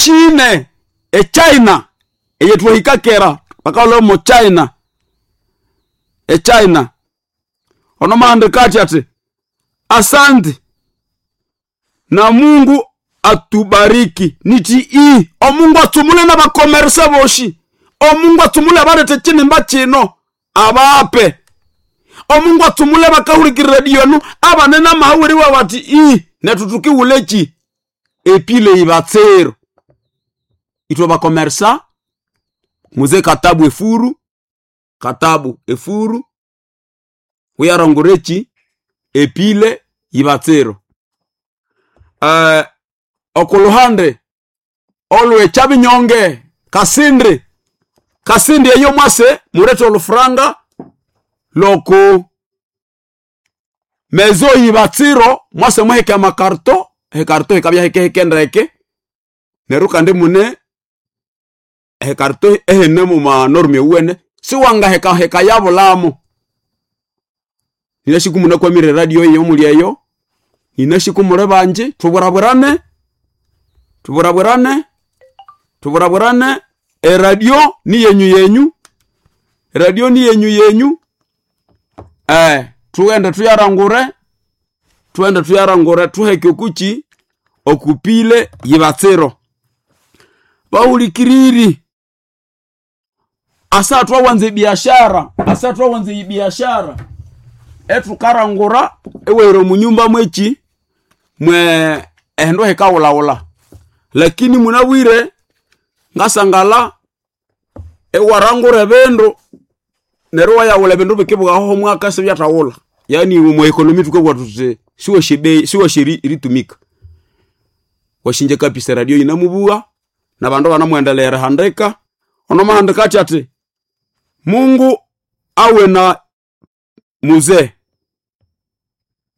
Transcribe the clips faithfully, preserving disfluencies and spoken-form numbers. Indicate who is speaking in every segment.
Speaker 1: Chine echina eyetwahika kera bakahulha mo China echina ono mahandika athi ati asante na Mungu atubariki niti i omungu atsumule n'abakomeresa boshi omungu atsumule abaletha ekinimba kino abape omungu atsumule bakahulikirira radio enu abanene amahaweriwa bati i nethu tukiwuleki epile ibatsero ithwe bakomeresa muze katabu efuru katabu efuru uyarongoreki epile ibatsero uh, okuluhande olwe kyabinyonge kasindi kasindi eyo mwase murete olufuranga loku mezo ibatsiro mwase muheke amakarto ekarto ikabya hekeheke ndeke neryo kandi mune ekarto ehene muma norme ewuwene siwangahekaheka yabulamo ninashiku munakwamire radio eyo muli eyo ninashiku muli banji tuburabulane tuburabulane tuburabulane eradio ni yenyu yenyu eradio ni yenyu yenyu eh tughende tuyarangure tughende tuyarangure tuheke okuki okupile yibatsiro bahulikiriri asa twawanza ebiashara asa twawanza ebiashara ethukarangura ewere omunyumba mweki mwe ehindu hikawulawula lakini munabwire ngasangala ewarangura ebindu neryo iwayawula ebindu bikibwaho omwaka sibyathawula yani omwa economy thukabugha thuthi siwasya bei siwasya eritumika washinja kapisa radio yinamubugha nabandu banamuendelea erihandika ono mahandika athi ati Mungu awe na muzee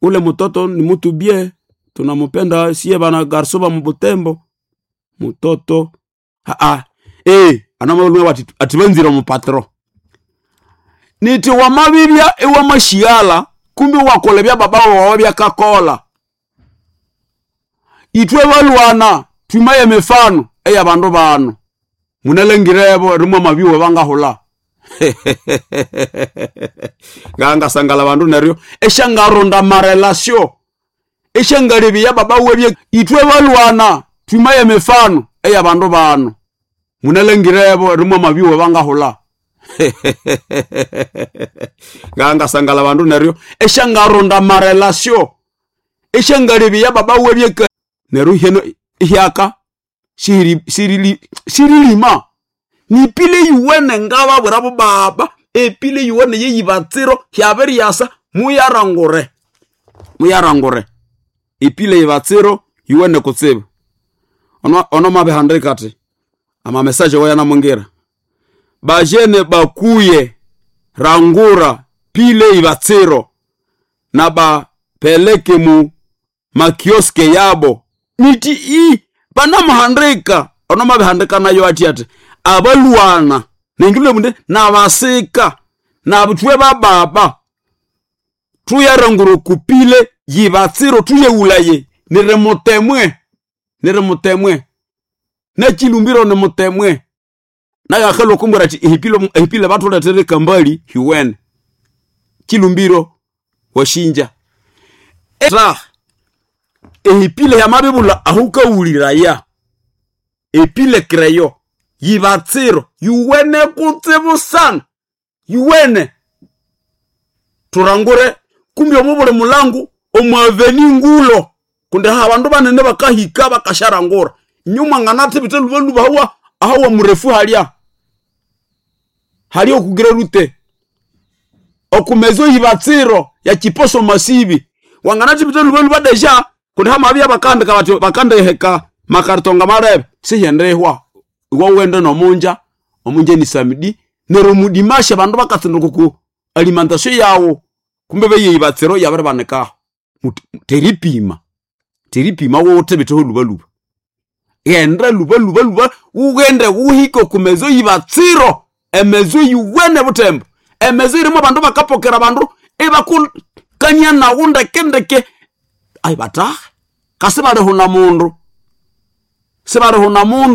Speaker 1: ule mtoto ni mutu bie tunamupenda sie bana garso ba mubutembo mutoto aa eh anamalunga bati atibanzira mupatro niti wamabibya ewamashiala kumbi wakola bya baba wawe byakakola itwe balwana twimaye mifano eya bandu bano munalengirebo rimwe mabiwe bangahula ngangasangala bandu neryo esyangaronda marelasio esyangalebya baba webye itwe balwana twimaye mifano eya bandu bano munalengirebo rimwe mabiwe bangahula ngangasangala bandu neryo esyangaronda marelasio esyangalebya baba webye neryo heno ihyaka shirilima nipile yuwene ngababwirabo baba epile yuwene yeyibatsiro hyabiryasa muyarangure muyarangure epile yibatsiro yuwene kutsibu ono, ono mabihandika ati amamesaje wayanamungira bajene bakuye rangura pile ibatsiro na bapeleke mu makioske yabo niti i banamuhandika ono mabihandika nayo ati ati abalwana nengilwe munde nabasika nabutwe bababa tuyarangura kupile yibatsiro tuyeulaye nirimutemwe nirimutemwe nechilumbiro nimutemwe nagakhela okumbwira ati ehipile ehipile bathuletere kambali hiwene chilumbiro washinja ra ehipile yamabibula ahukawuliraya epile kreyo yibatsiro yuwene kutsibu sana yuwene turangure kumbi omu buli mulangu omwaveni ngulo kundi ha bandu banene bakahika bakasharangura inyuma nganathibithe lubaluba hawa ahawa murefu halya halya okugira rute okumezo yibatsiro ya chiposo masibi wanganathibithe lubaluba deja kundi hamabya bakandika bati bakandiheka makartonga marebe sihendehwa iwe wende nomunja omunja ni samedi neryo mudimashe bandu bakatsinduka ku alimentation yawo kumbe beyeyibatsiro yabiribanikaho teripima teripima wothe lubaluba ghenda luba luba luba wughende wuhike okumezo yibatsiro emezo yiwene butembo emezo irimu abandu bakapokera abandu ibakukania nawu ndeke ndeke ayi batahe kasi balihuna mundu sibalihuna mundu.